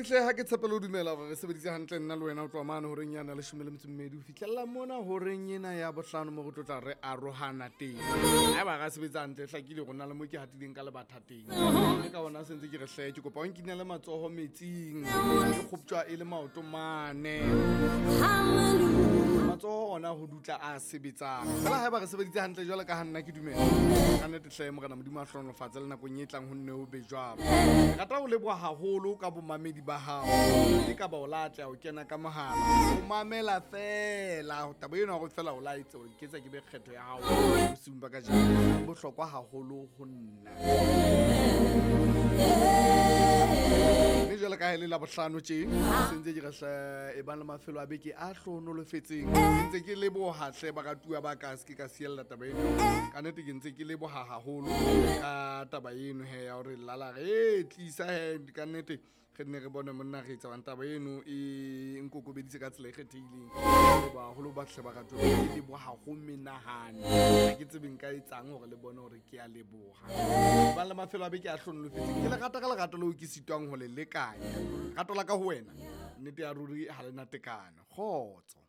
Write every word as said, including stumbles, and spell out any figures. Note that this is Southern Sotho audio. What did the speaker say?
Momamedi hle, ha ke tshepele ho dumela hore re sebeditse hantle nna le wena ho tloha mane horeng yana leshome le metso e mmedi ho fihlella mona horeng ena ya bohlano mo re tlo tla re arohana teng. Haeba ra sebetsa hantle, hlakile hore na le mo ke hatileng ka lebatha teng. Mme ka hona se ntse ke re hle, ke kopa o nkinele matsoho metsing, ke kgoptjwa e le maoto mane. Matsoho ona ho dutla a sebetsang. Fela haeba re sebeditse hantle jwalo ka ha nna ke dumela, ka nnete hle Morena Modimo a hlohonolofatse le nakong e tlang ho nne ho be jwalo. Ke rata ho leboha haholo ka bomamedi ba hao. E ka ba o la atleha ho kena ka mohala, o mamela feela taba eno ya hore feela o la etsa hore ke etsa ke be kgetho ya hao bosiung ba kajeno. E bohlokwa haholo ho nna. Mme jwalo ka ha e le Labohlano tje, se ntse ke re hle e bang le mafelo a beke a hlohonolofetseng. Ke ntse ke leboha hle baratuwa ba ka, se ke ka siella taba eno. Ka nnete ke ntse ke leboha haholo ka taba eno he ya hore lala re e tlisa he ka nnete re nne re bone monna re etsa hobane taba eno e nkokobeditse ka tsela e kgethehileng. Leboha haholo ba hle baratuwa, ke leboha ho menahane. Ha ke tsebe nka etsang hore le bone hore ke a leboha. Bang le mafelo a beke a hlohonolofetseng. Ke le rata ka lerato leo ke sitwang ho le lekanya. Rato la ka ho wena, nnete ya ruri ha le na tekano. Kgotso.